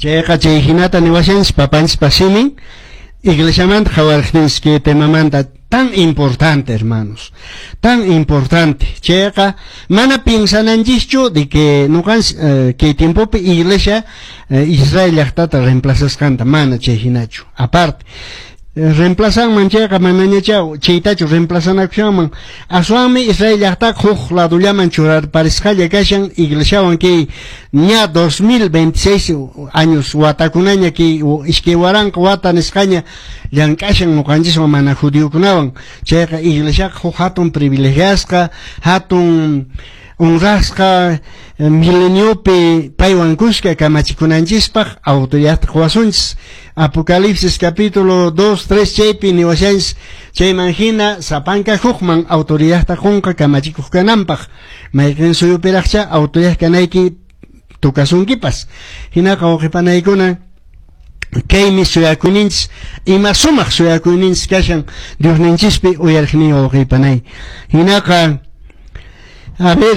Chayqa chay hinata niwashanchis papanchispa simin iglesiamanta qhawariqtinchis kay temamanta tan importante, hermanos, tan importante. Chayqa mana piensananchischu de que nuqanchis kay tiempopi iglesia Israel llaqtata reemplazasqanta, mana chay hinachu. Aparte, reemplazanman chayqa manañacha chaytachu reemplazanakushanman, aswanmi Israel llaqtaqa huk ladollaman churarparisqalla kashan iglesiawan kay ña 2026 años watakunaña kay 2000 wata nisqaña llank'ashan nuqanchiswan mana judiokunawan. Chayqa iglesiaqa huk hatun privilegiasqa, hatun honrasqa, mileniopi paywan kuska kamachikunanchispaq autoridadta quwasunchis. Apocalipsis capítulo 2, 3 chaypi niwashanchis chayman hina sapanka hukman autoridadta qunqa kamachikuq kananpaq. Mayqin suyupiraqcha autoridad kanayki tukasunkipas. Hinaqa wawqipanaykuna, kaymi suyakuyninchis, ima sumaq suyakuyninchis kashan Diosninchispi uyariqniy wawqipanay. Hinaqa, a ver,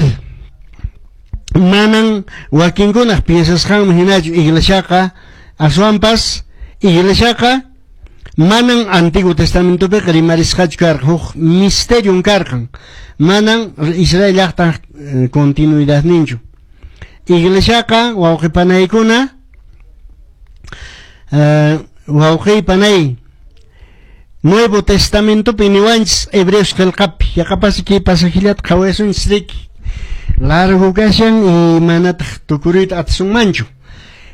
manan wakinkunaq piensasqanman hinachu iglesiaqa, aswanpas iglesiaqa manan Antiguo Testamentopiqa rimarisqachu karqan, huk misterion karqan, manan Israel llaqtaq continuidadninchu. Iglesiaqa wawqipanaykuna, wawqipanay, Nuevo Testamentopi niwanchis Hebreos qillqapi, yaqapas kay pasajillata qhawasunchis riki, largo kashan y manataq tukuruyta atisunmanchu.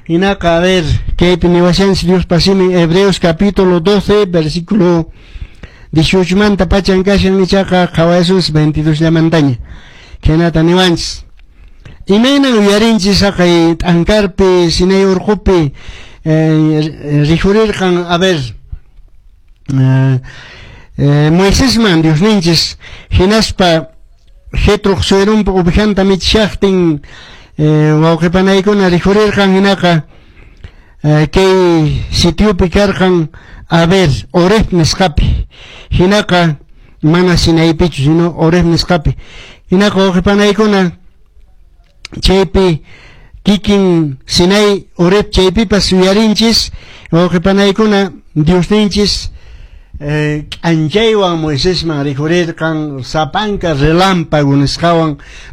Hinaqa, a ver, kaypi niwashanchis Diospa simin Hebreos capítulo 12, versículo 18 manta pachan kashan, ichaqa qhawasunchis 22 llamantaña. Khaynata niwanchis. Imaynan uyarinchis haqay t'ankarpi, Sinai urqupi rikhurirqan, a ver, Moisesman Diosninchis hinaspa Jetroq suerunpa ovejanta michishaqtin wawqipanaykuna rikhurirqan, hinaqa kay sitiopi karqan, a ver, Horeb nisqapi. Hinaqa mana Sinaipichu, sino Horeb nisqapi. Hinaqa wawqipanaykuna, chaypi kikin Sinai Horeb chaypipas uyarinchis wawqipanaykuna Diosninchis k'anchaywan Moisesman rikhurirqan sapanka relámpago nisqawan.